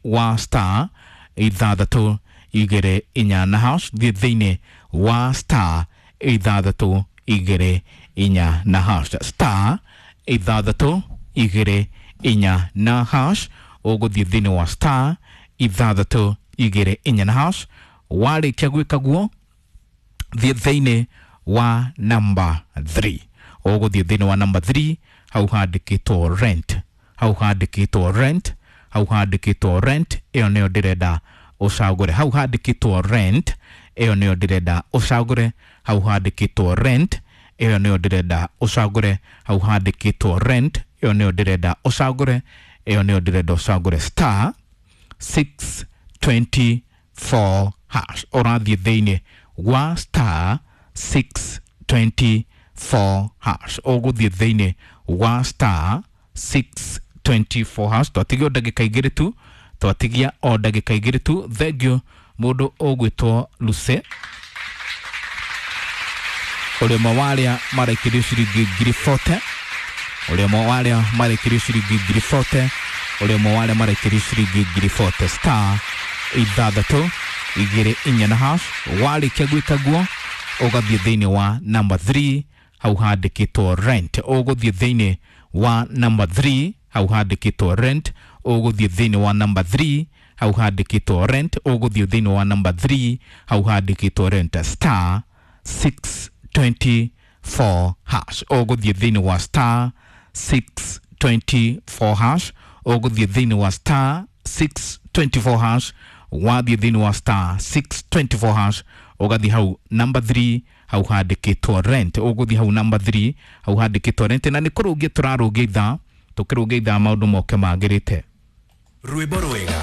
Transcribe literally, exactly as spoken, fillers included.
Wa star ithathatũ igĩrĩ inya na hash. Thiĩ thĩinĩ wa star ithathatũ igĩrĩ inya na hash, star ithathatũ igĩrĩ inya na hash. Ũgũthiĩ thĩinĩ wa star ithathatũ igĩrĩ inya na hash. Warĩkia gwĩka guo, thiĩ thĩinĩ wa number three. Ũgũthiĩ thĩinĩ wa number three, hau handĩkĩtwo rent, hau handĩkĩtwo rent, hau handĩkĩtwo rent. Ĩyo nĩyo ndĩrenda ũcagũre. Hau handĩkĩtwo rent, ĩyo nĩyo ndĩrenda ũcagũre. Hau handĩkĩtwo rent, ĩyo nĩyo ndĩrenda ũcagũre. Hau handĩkĩtwo rent, ĩyo nĩyo ndĩrenda ũcagũre. Ĩyo nĩyo ndĩrenda ũcagũre, star six twenty-four hash. Ũrathiĩ thĩinĩ wa star six twenty-four hash. Ũgũthiĩ thĩinĩ wa star six twenty-four hash. Twatigia o ndagĩka igĩrĩ tu, twatigia o ndagĩka igĩrĩ tu. Thengiũ mũndũ ũgwĩtwo Luce, ũrĩa ũmwe wa arĩa maraikĩrio ciringi ngiri mĩrongo ĩna, ũrĩa ũmwe wa arĩa maraikĩrio ciringi ngiri mĩrongo ĩna, ũrĩa ũmwe wa arĩa maraikĩrio ciringi ngiri mĩrongo ĩna, star ithathatũ igĩrĩ inya na hash. Warĩkia gwĩka guo, ũgathiĩ thĩinĩ wa number three, hau handĩkĩtwo rent. Ũgũthiĩ thĩinĩ wa number three, hau handĩkĩtwo rent. Ũgũthiĩ thĩinĩ wa number three, hau handĩkĩtwo rent. Ũgũthiĩ thĩinĩ wa number three, hau handĩkĩtwo rent, star six twenty-four hash. Ũgũthiĩ thĩinĩ wa star six twenty-four hash. Ũgũthiĩ thĩinĩ wa star six twenty-four hash. Wathiĩ thĩinĩ wa star six twenty-four hash, ũgathiĩ hau number three, hau handĩkĩtwo rent. Ũgũthiĩ hau number three, hau handĩkĩtwo rent. Na nĩ kũrũngia tũrarũngia ithaa, tũkĩrũngia ithaa maũndũ moke magĩrĩte. Rwĩmbo rwega.